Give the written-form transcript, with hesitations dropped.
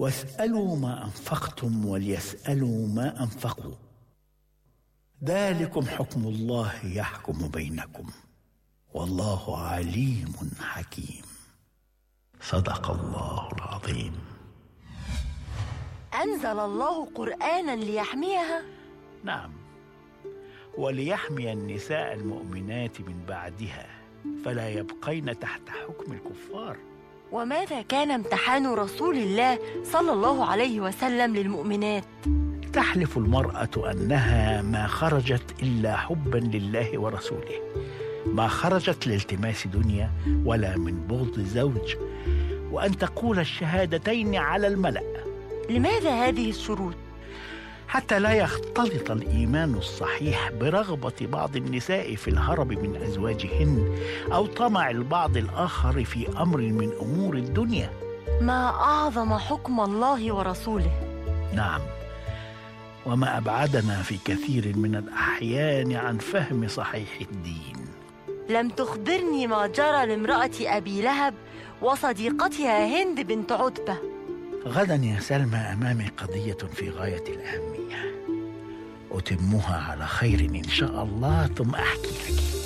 واسألوا ما أنفقتم وليسألوا ما أنفقوا، ذلكم حكم الله يحكم بينكم، والله عليم حكيم. صدق الله العظيم. أنزل الله قرآنا ليحميها؟ نعم، وليحمي النساء المؤمنات من بعدها فلا يبقين تحت حكم الكفار. وماذا كان امتحان رسول الله صلى الله عليه وسلم للمؤمنات؟ تحلف المرأة أنها ما خرجت إلا حبا لله ورسوله، ما خرجت لالتماس دنيا ولا من بغض زوج، وأن تقول الشهادتين على الملأ. لماذا هذه الشروط؟ حتى لا يختلط الإيمان الصحيح برغبة بعض النساء في الهرب من أزواجهن أو طمع البعض الآخر في أمر من أمور الدنيا. ما أعظم حكم الله ورسوله. نعم، وما أبعدنا في كثير من الأحيان عن فهم صحيح الدين. لم تخبرني ما جرى لامرأة أبي لهب وصديقتها هند بنت عتبة. غدا يا سلمى أمامي قضية في غاية الأهمية، أتمها على خير إن شاء الله ثم أحكي لك.